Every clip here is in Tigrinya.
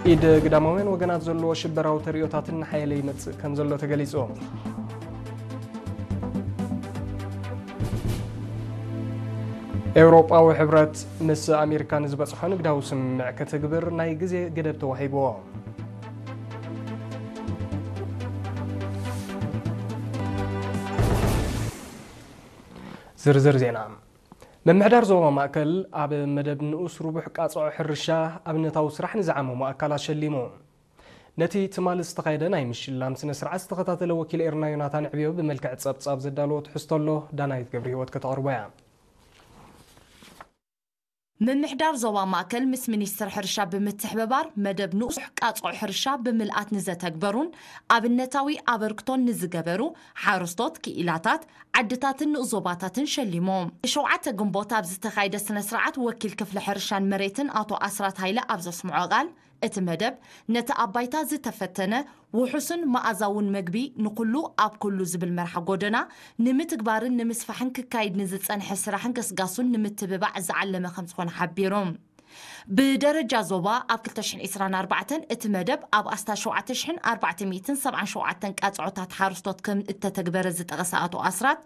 ኢድ ግዳማውያን ወገናት ዘለዎ ሽበራዊ ተርእዮታትን ሓየለ ይመጽእ ከም ዘሎ ተገሊጹ። ኤውሮጳዊ ሕብረት ምስ ኣሜሪካ ንዝበጽሖ ንግዳዊ ስምምዕ ክትግብር ናይ ግዜ ገደብ ተዋሂብዎ። ዝርዝር ዜና። ምምሕዳር ዞባ ማእከል ኣብ መደብ ንኡስ ርቡሕ ቃጽዖ ሕርሻ ኣብነታዊ ስራሕ ንዝዓመሙ ኣካላት ሸሊሙ። ነቲ ትማሊ ዝተኻየደ ናይ ምሽላም ስነ ስርዓት ዝተኸታተለ ወኪል ኤርና ዮናታን ዕብዮ ብመልክዕ ጸብጻብ ዘዳለዎ ትሕዝቶ ኣሎ፣ ዳናይት ገብረ ህይወት ከተቕርቦ እያ። ምምሕዳር ዞባ ማእከል ምስ ሚኒስትር ሕርሻ ብምትሕብባር መደብ ንኡስ ቃጽዖ ሕርሻ ብምልኣት ንዘተግበሩን ኣብነታዊ ኣበርክቶን ንዝገበሩ ሓረስቶት፣ ክኢላታት፣ ዓድታትን ንኡስ ዞባታትን ሸሊሙ። ሸውዓተ ግንቦት ኣብ ዝተኻየደ ስነ ስርዓት ወኪል ክፍሊ ሕርሻን መሬትን ኣቶ ኣስራት ሃይለ ኣብ ዘስምዖ ቃል፣ እቲ መደብ ነቲ ኣብ ባይታ ዝተፈተነ ውሑስን መኣዛውን መግቢ ንኹሉ ኣብ ኩሉ ዝብል መርሓ ጎደና ንምትግባርን ንምስፋሕን ክካይድ ንዝጸንሐ ስራሕን ገስጋሱን ንምትብባዕ ዝዓለመ ከም ዝኾነ ሓቢሩ። ብደረጃ ዞባ ኣብ ክልተ ሽሕን ዕስራን ኣርባዕተን እቲ መደብ ኣብ ኣስታት ሸውዓተ ሽሕን ኣርባዕተ ሚእትን ሰብዓን ሸውዓተን ቃጽዖታት ሓረስቶት ከም እተተግበረ ዝጠቐሰ ኣቶ ኣስራት፣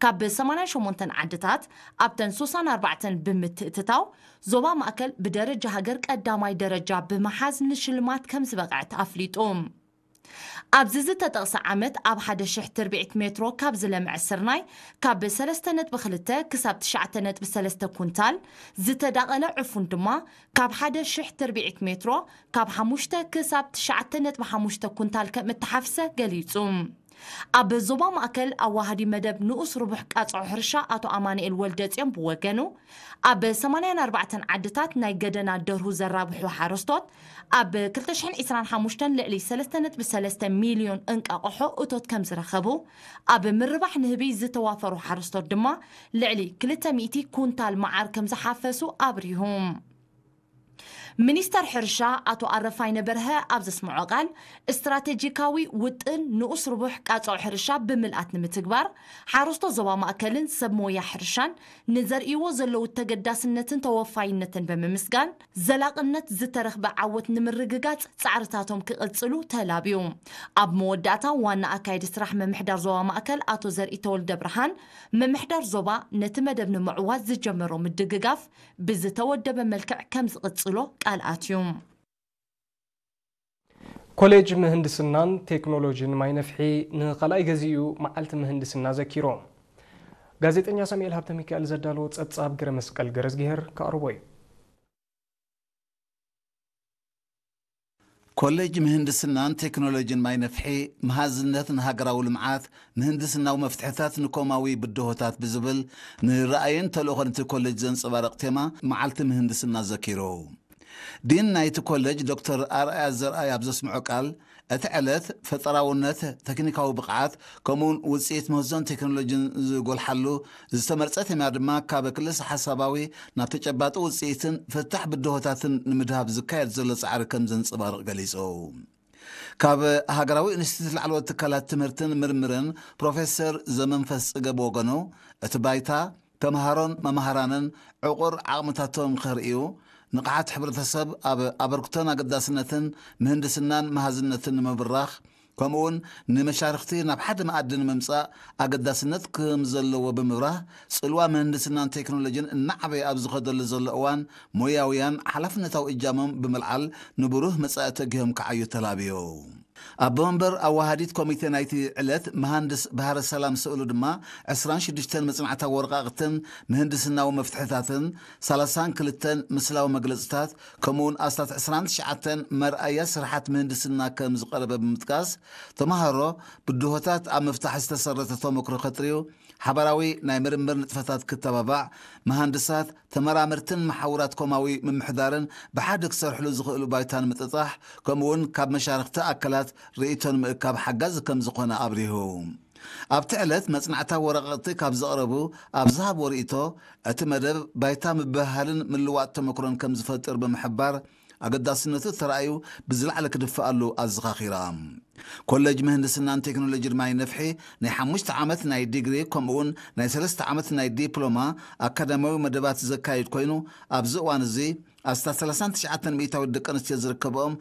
ካብ ሰማንያን ሸሞንተን ዓድታት ኣብተን ሱሳን ኣርባዕተን ብምትእትታው ዞባ ማእከል ብደረጃ ሃገር ቀዳማይ ደረጃ ብምሓዝ ንሽልማት ከም ዝበቕዐት ኣፍሊጡ። ኣብዚ ዝተጠቕሰ ዓመት ኣብ ሓደ ሽሕ ትርብዒት ሜትሮ ካብ ዝለምዐ ስርናይ ካብ ሰለስተ ነጥቢ ክልተ ክሳብ ትሽዓተ ነጥቢ ሰለስተ ኩንታል፣ ዝተዳቐለ ዕፉን ድማ ካብ ሓደ ሽሕ ትርብዒት ሜትሮ ካብ ሓሙሽተ ክሳብ ትሽዓተ ነጥቢ ሓሙሽተ ኩንታል ከም እተሓፍሰ ገሊጹ። ኣብ ዞባ ማእከል ኣዋሃዲ መደብ ንኡስ ርቡሕ ቃጽዖ ሕርሻ ኣቶ ኣማኑኤል ወልደጽዮን ብወገኑ፣ ኣብ ሰማንያን ኣርባዕተን ዓድታት ናይ ገደና ደርሁ ዘራብሑ ሓረስቶት ኣብ ክልተ ሽሕን ዕስራን ሓሙሽተን ልዕሊ ሰለስተ ነጥቢ ሰለስተ ሚልዮን እንቃቕሖ እቶት ከም ዝረኸቡ፣ ኣብ ምርባሕ ንህቢ ዝተዋፈሩ ሓረስቶት ድማ ልዕሊ ክልተ ሚእቲ ኩንታል መዓር ከም ዝሓፈሱ ኣብሪሁ። ሚኒስተር ሕርሻ ኣቶ ኣረፋይነ በርሀ ኣብ ዘስምዖ ቃል፣ ስትራቴጂካዊ ውጥን ንኡስ ርቡሕ ቃጽዖ ሕርሻ ብምልኣት ንምትግባር፣ ሓረስቶት ዞባ ማእከልን ሰብ ሞያ ሕርሻን ንዘርእይዎ ዘለዉ ተገዳስነትን ተወፋይነትን ብምምስጋን፣ ዘላቕነት ዝተረኽበ ዓወት ንምርግጋጽ ጻዕርታቶም ክቕጽሉ ተላብዩ። ኣብ መወዳእታ፣ ዋና ኣካያዲ ስራሕ ምምሕዳር ዞባ ማእከል ኣቶ ዘርኢ ተወልደ ብርሃን፣ ምምሕዳር ዞባ ነቲ መደብ ንምዕዋት ዝጀመሮ ምድግጋፍ ብዝተወደበ መልክዕ ከም ዝቕጽሎ ቃል ኣትዩ። ኮሌጅ ምህንድስናን ቴክኖሎጂን ማይነፍሒ ንኻልኣይ ገዚኡ መዓልቲ ምህንድስና ዘኪሩ። ጋዜጠኛ ሳሙኤል ሃብተ ሚካኤል ዘዳለዎ ጸብጻብ ግረ መስቀል ገረዝግሄር ከቕርቦ እዩ። ኮሌጅ ምህንድስናን ቴክኖሎጂን ማይነፍሒ፣ መሃዝነት ንሃገራዊ ልምዓት፣ ምህንድስናዊ መፍትሕታት ንኮማዊ ብድሆታት ብዝብል ንራእይን ተልእኾን እቲ ኮሌጅ ዘንጸባርቕ ቴማ መዓልቲ ምህንድስና ዘኪሩ። ዲን ናይቲ ኮሌጅ ዶክተር ኣርኣያ ዘርኣይ ኣብ ዘስምዖ ቃል፣ እቲ ዕለት ፈጠራውነት፣ ቴክኒካዊ ብቕዓት፣ ከምኡውን ውጽኢት ምህዞን ቴክኖሎጂን ዝጎልሓሉ ዝተመርጸ ቴማ ድማ ካብ ክልሰ ሓሳባዊ ናብ ተጨባጢ ውጽኢትን ፍታሕ ብድሆታትን ንምድሃብ ዝካየድ ዘሎ ጻዕሪ ከም ዘንጸባርቕ ገሊጹ። ካብ ሃገራዊ ኢንስቲትዩት ላዕለዎት ትካላት ትምህርትን ምርምርን ፕሮፌሰር ዘመንፈስ ጽገብ ወገኑ፣ እቲ ባይታ ተምሃሮን መምሃራንን ዕቑር ዓቕምታቶም ከርእዩ፣ ንቕሓት ሕብረተሰብ ኣብ ኣበርክቶን ኣገዳስነትን ምህንድስናን መሃዝነትን ንምብራኽ፣ ከምኡውን ንመሻርኽቲ ናብ ሓደ መኣዲ ንምምጻእ ኣገዳስነት ከም ዘለዎ ብምብራህ፣ ጽልዋ ምህንድስናን ቴክኖሎጂን እናዓበየ ኣብ ዝኸደሉ ዘሎ እዋን፣ ሞያውያን ሓላፍነታዊ እጃሞም ብምልዓል ንብሩህ መጻኢ ተጊሆም ክዓዩ ተላብዮ። ኣቦ መንበር ኣዋሃዲት ኮሚቴ ናይቲ ዕለት መሃንድስ ባህረ ሰላም ስእሉ ድማ፣ ዕስራን ሽዱሽተን መጽናዕታዊ ወረቓቕትን ምህንድስናዊ መፍትሕታትን፣ ሰላሳን ክልተን ምስላዊ መግለጽታት፣ ከምኡውን ኣስታት ዕስራን ትሽዓተን መርኣያ ስራሓት ምህንድስና ከም ዝቐረበ ብምጥቃስ፣ ተመሃሮ ብድሆታት ኣብ ምፍታሕ ዝተሰረተ ተመክሮ ከጥርዩ፣ ሓባራዊ ናይ ምርምር ንጥፈታት ክተባባዕ፣ መሃንድሳት፣ ተመራመርትን መሓውራት ኮማዊ ምምሕዳርን ብሓደ ክሰርሕሉ ዝኽእሉ ባይታ ንምጥጣሕ፣ ከምኡውን ካብ መሻርኽቲ ኣካላት ርእይቶን ምእካብ ሓጋዚ ከም ዝኾነ ኣብሪሁ። ኣብቲ ዕለት መጽናዕታዊ ወረቐቕቲ ካብ ዘቕረቡ ኣብ ዝሃብዎ ርእይቶ፣ እቲ መደብ ባይታ ምብህሃልን ምልዋጥ ተመክሮን ከም ዝፈጥር ብምሕባር፣ ኣገዳስነቱ ተራእዩ ብዝለዓለ ክድፍኣሉ ኣዘኻኺራ። ኮሌጅ ምህንድስናን ቴክኖሎጂን ማይ ነፍሒ ናይ ሓሙሽተ ዓመት ናይ ዲግሪ ከምኡውን ናይ ሰለስተ ዓመት ናይ ዲፕሎማ ኣካዳሚያዊ መደባት ዘካይድ ኮይኑ፣ ኣብዚ እዋን እዚ ኣስታት ሰላሳን ትሽዓተን ሚእታዊት ደቂ ኣንስትዮ ዝርከብኦም